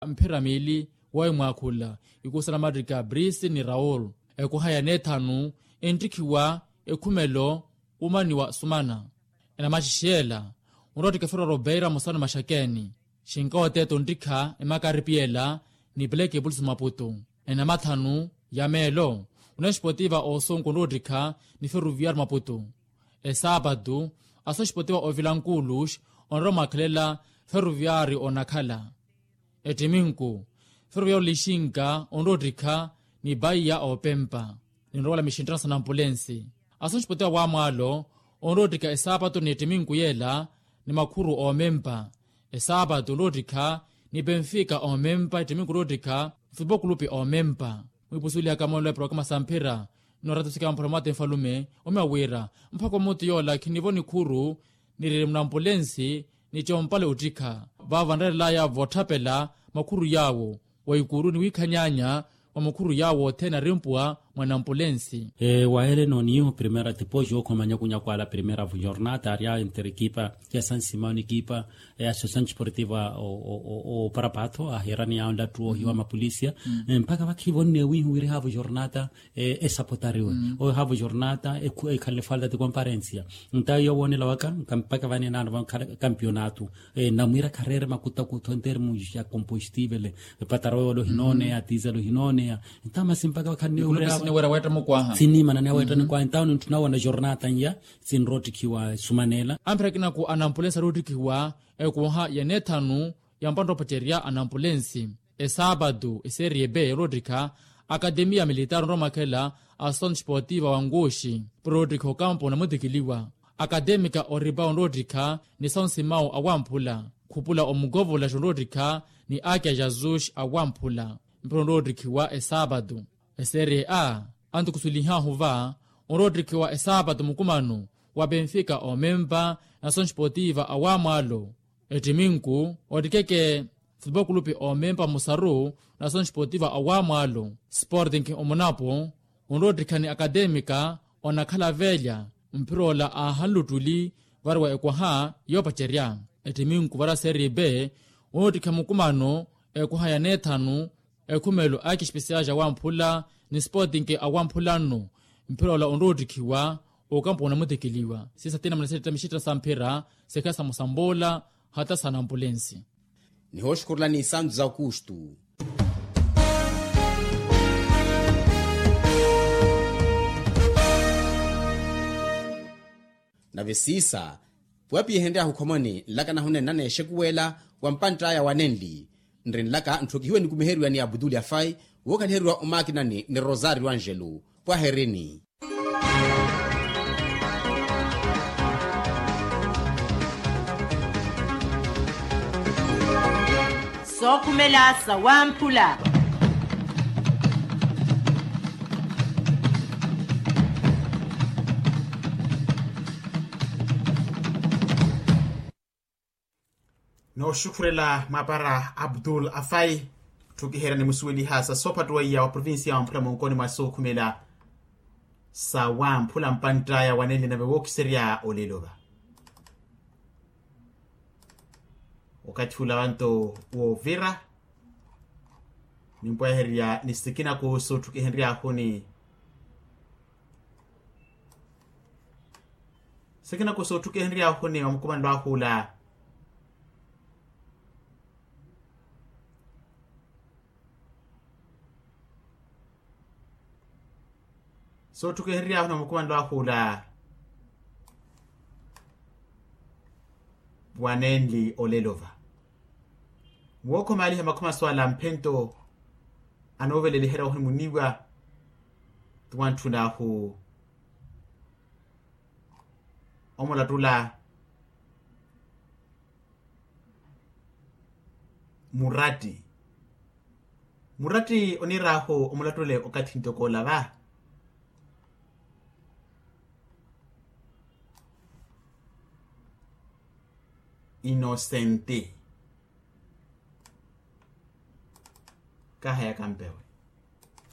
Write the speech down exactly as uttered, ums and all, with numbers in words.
mphira miili. Wowi mwaakhula ikusa namattikha brisi ni raul. Ekuha ya neethanu enttikhiwa ekhumelo umaniwa sumana. Enamaxixi yeela onroottikha ferwaro beira musanu maxakeeni. Xinkawo teto nttikha emakaripi yeela ni pleke pulisi maputu. Enamathanu ya meelo onexpotiva osunku onroottikha ni feruviyari maputu. Esaapatu asoxpotiva ovilankuulux onrowa mwakhelela feruviyari onakhala. Ettiminku feruviyari olixinka onroottikha ni paiya opempa. Ninrowala mixinttano sa nampulensi asoxpotiva wamwaalo onroottikha esaapatu ni ettiminku yeela ni makhuru omempa. Esaapatu onroottikha ni penfika omempa ettiminku onroottikha mfupokulupi omempa. Mwiipusuwelihaka moonlo ya programa sa mphira. Nnoorata sikaya mphula mwaate nfalume omiya wira mpakha omuti yoola khinivo nikhuru niriri munampulensi ni compale ottikha. Vaavo vanreerelaya vootthapela makhuru yaawo wa ikuru ni wiikhanyaanya wa makhuru yaawo othene arimpuwa mwa nampulensi. Waherene oniiho primera tipoxi okhoma nyakunyaku ala primera vujornata arya entre ekipa ya sansimao ni ekipa ya associasanciportiva o parapatho ahiirani yaawo nlattu oohiwa mapolisia. Mpakha vakhivo nneewihi wiriha vujornata esapotariwe oyo haavo jornata ekhalele falta ti comparensia. Ntayo yowoonela waka mpaka vanenaano vankhala kampionatu. Namwiira khareere makutakutho entermu ya compostivele. Epataro yoole ohinooneya tizelo ohinooneya. Ntamasi mpaka vakhanniwira weetta mukwaha sinimana niyaweetta nikwaha ntawo nintthuna wona jornata nya sinroottikhiwa esumanela. Ampira kinaku anampulensi aroottikhiwa ekwaha ya neethanu ya mpantta opacerya anampulensi. Esaapatu eserie b yoroottikha akatemiya militaari onrowa mwakhela a associasanciportiva wa nkuxi. Poroottikha okampo onamutikiliwa akatemika oripa onroottikha ni sansimawu awamphula khupula omukovolaxa onroottikha ni akya jazuxi awamphula. Mpira onroottikhiwa esaapatu eserie a antukusulihahu va onroottikhiwa esaapatu mukumano wa penfika omempa na associasanciportiva awamwaalo. Ettiminku oottikeke futupokulupi omempa musaru na associasanciportiva awamwaalo sportinki omunapo onroottikha ni akatemika onakhala velya. Mphiroola aahanluttuli variwa ekwaha yoopacerya ettiminku varwa serie b onroottikha mukumano ekwaha ya neethanu ekhumelo aki espesiyaxi awamphula ni sportinki awamphula nno. Mphiroola onroottikhiwa okampo onamutikiliwa siisa tinamuna setta mixittina sa mphira sikhala sa musamboola hata sa nampulensi. Nihooxukhurela ni santu za aukustu. Nave siisa puwapiyehenryahu khomoni nlaka nahunenna neexekuwela wa mpantt'aya wa nenli. Nri nlaka ntthokihiwe nikumiheriwa ni abutuli afai wookhaliheriwa omakinani ni rosario angelo. Pwaherini. Sookhumela sawamphula. Nooxukhurela mwaapara abdul afai. Tthukiherya ni musuweliha sa soophattuweiya wa provincia wa mphula munkoni mwa sookhumela sawamphula mpantt'aya wa nenli nave wookiserya olelo va okathi ula wanto woovira. Nimpwehererya ni sikina kooso tthukihenryahuni sikina kooso tthukihenryahuni wa mukumanlo ahu ula. Sootthukihenryahuni wa mukumanlo ahu ula wa nenli olelo va. Wookhomaaliha makhumaso ala mphento anooveleliherya ohunimuniwa ti wantthun'ahu omulattula muratti. Muratti oniir'ahu omulattule okathi ntoko ola va inosenti. Kahaya kampewe.